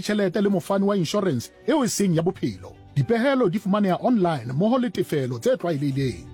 Ditjhelete le mofani wa inshorense eo e seng ya bophelo. Dipehelo di fumaneha online mmoho le tefelo tse tlwaelehileng.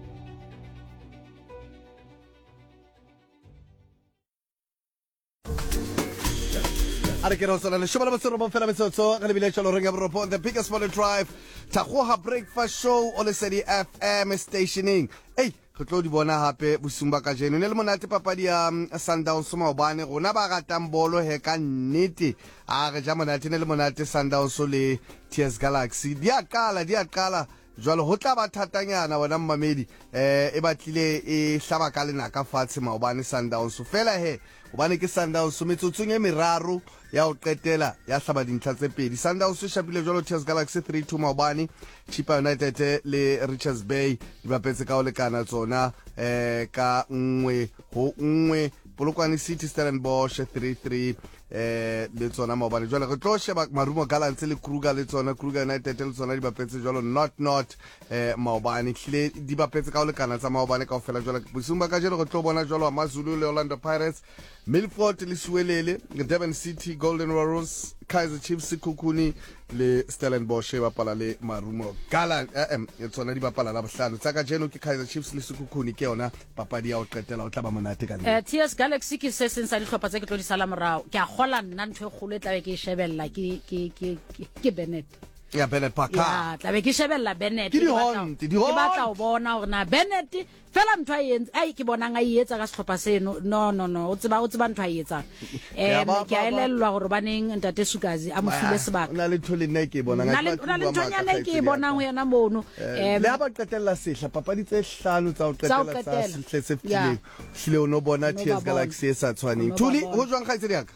A re ke re o tswela lešome le metso fela metsotso ge lebile tšwa loreng ya boropo the biggest morning drive Thakgoga breakfast show o lesedi fm stationeng ei re tlo di bona gape bosung ba kajeno ne le monate papadi ya sundowns maobane rona ba ratang bolo he ka nnete a re ja monate ne le monate sundowns le ts galaxy di a qala di a qala jwale ho tla ba thatanyana wena mmamedi eh e batlile e hlaba ka lenaka fatshe maobane sundowns fela he hobane ke sundowns metsotsong e meraro ya ho qetela ya hlaba dintlha tse pedi. Sundowns e shapile jwalo TS Galaxy 3-2 maobane. Chippa United le Richards Bay di bapetse ka ho lekana tsona eh ka 1-1. Polokwane City Stellenbosch 3-3 eh le tsona maobane. Jwale re tlo sheba Marumo Gallants le Kruger le tsona Kruger United le tsona di bapetse jwalo 0-0 eh maobane. Hlile di bapetse ka ho lekana tsa maobane kaofela. Jwale bosiung ba kajeno re tlo bona jwalo AmaZulu le Orlando Pirates Milford le Siwelele, Durban City, Golden Warriors, Kaizer Chiefs, Sekhukhune le Stellenbosch e bapala le Marumo Gallants. Eh, eh, tsona di bapala la bohlano. Tsa kajeno ke Kaizer Chiefs le Sekhukhune ke yona papadi ya ho qetela o tla ba monate ka nnete. Eh, TS Galaxy ke se seng sa dihlopha tse ke tlo di sala morao. Ke a kgola nna ntho e kgolo e tlabe ke e shebella ke ke ke ke Bennett. Ya Bennett Parker. Ya, tlabe ke shebella Bennett. Ke di-hunt, di-hunt. Ke batla ho bona hore na Bennett Fela ntho a e entse, ai ke bonang a e etsa ka sehlopha seno. No, no, no, o tseba, o tseba ntho a e etsang. Ya, Em, ba- ke a ba- ba- elellwa gore baneng ntate Sukazi a mo file sebaka. O na le ntho le nna e ke e bonang. Na Ha ke le- batle o na le ho bua maaka, nthonyana e ke e kgaitsedi ya bonang ka. ho yena mono. Eh, Em, le ha ba qetella sehla papadi tse hlano tsa ho Tsa ho qetela tsa qetela. sehle se Ya. fetileng hlile o no bona O no TS ba bona. Galaxy e sa tshwaneng O no ba Thuli bona. ho jwang kgaitsedi ya ka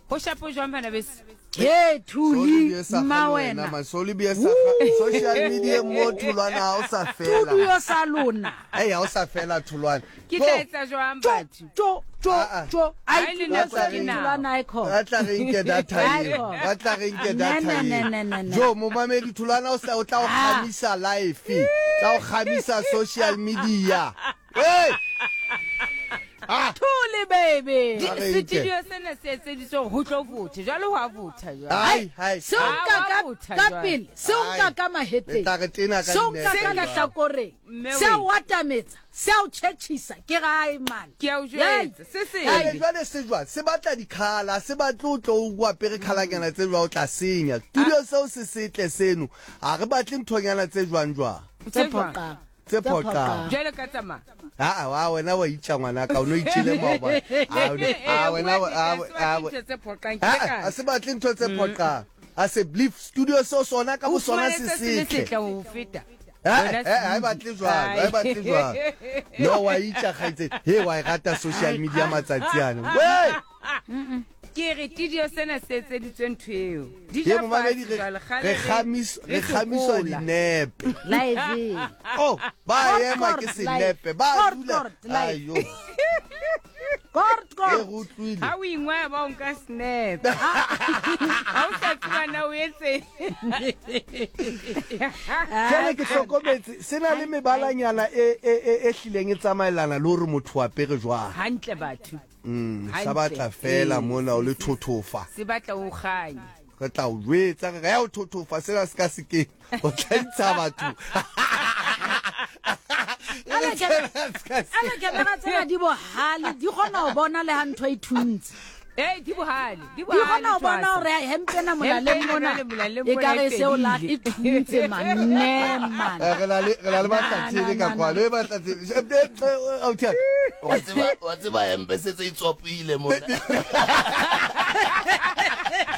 Ho shapo jwang bana beso? He Thuli, Soli sa mma kgale wena. man. Soli bie sa kga- social media mo tholwana ha o sa fela. Studio sa lona. Ei ha o sa fela tholwana. Ke tla etsa jwang batho? Tjo, tjo, Ah, ah. tjo. Ai, Ai, le studio nako sa ke nako. tholwana e khona. Ba tla re nke data eo. Haiko. Ba tla re nke data Ne, ne, eo. ne, ne, ne. Jo momamedi tholwana o sa o tla o Ah. kgamisa life. Tla o kgamisa social media. Hey! Ah! Thuli baby. A re nke. Studio sena se etseditswe hore ho tlo votha. Jwale ho a votha jwale. Hai, hai. Seo nka Ah, ka wa botha ka jwale. pele, seo nka Ai. ka Le mahetleng. tla re tena ka Seo nka dinepe ka jwale. lehlakoreng. Mme Se a we. o atametsa, se a o tjhetjhisa. Ke re ai man. Ke a o Yei. jwetsa. Se Jwale sebe. jwale se jwang se batla dikhala se batle o tlo o apere khalanyana tse jwang o tla senya studio seo se setle seno ha re batle nthonyana tse jwang jwang Tse Tse jwang? phoqang. Tse phoqang. Jwale ka tsamaya. Aa wa wena wa itja ngwanaka o no itjele maobane. A o ne- a wena wa- a Bua a nnete, ntho tse phoqang ke a ka. a se batle ntho tse phoqang. A se believe studio seo sona ka O bo sona fumane se se se le setle. setle ho feta. Eh, Wena eh, ha e batle jwalo, ha e batle jwalo. No wa itja kgaitsedi. He wa e rata social media matsatsi ana. Wee! Ke re tidio sena se etseditswe ntho eo. Di Ye ja momamedi fatshe re jwale, kgale re re- kgamis re re kgamiswa sokola. dinepe. Live. Oh, ba Kort, ema ke kort, senepe, live. ba Kort, dula. kort, live. Ayo, Kort, e kort. re utlwile. Ha o ingwaya ba o nka snap. Ha o sa tseba na o etseng. Jwale ke hlokometse se na le mebalanyana e e e e hlileng e tsamaelana le hore motho o apere jwang. Hantle batho. Mm, sa Hantle. batla fela Ee, mona o le thothofa. Se batla o kganye. Re tla o jwetsa re re ya o thothofa sena se ka sekeng. O tla ntsha batho. Ale Ale camera tsena di bohale, di kgona ho bona le ha ntho e thuntse. Ee, di bohale, di Di bohale kgona ho bona Thwasa. hore hempe ena molaleng Hempe ena mona jwale molaleng e ka mona re e seo la fedile. e thuntse man. Ne man. Eh, re na le re na le Na, Bahlatsele na, ka na, kwano. na. E Bahlatsele. Eh, eh, eh, ausi ya ka. Wa tseba wa tseba hempe se tse itswapile mona.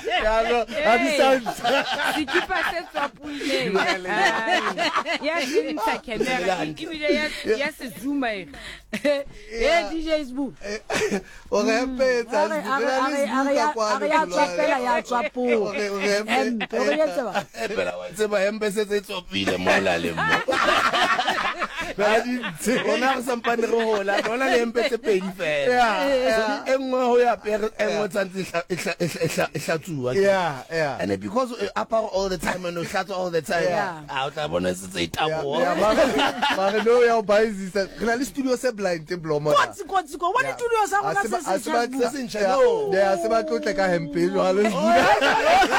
Ya, no, ha di sa ntsha. Sekipa se tswapoileng. Ai, ya se ntsha camera ebile ya ya se zooma e. Eh DJ Sbu. O re hempe e etsa A re Sbu. a Re re na a le re a Sbu re ka ya a kwano, re ya Tholwana. tswapela ya tswapoa. O re- o re hempe- Hempe o re etse ba. Phela wa tseba hempe se tse tswapile mo laleng mo. Ha di ntshe. Rona re sampane re hola, rona le hempe tse pedi fela. Yeah, So, e nngwe ho ya apere, e nngwe tshwantse e hla- e hla- e hla- e hla- e hlatsuwa. Yeah, yeah. And because o apara all the time and o hlatswa all the time, Yeah. ah, o tla bona se tse e taboha. Ya, mare mare no ya o baizisa. Re na le studio se blind blomo. Kotsi kotsi ko. Bona studio sa rona se se se se Se ntjha, no. Ya se ba tlotle ka hempe jwalo.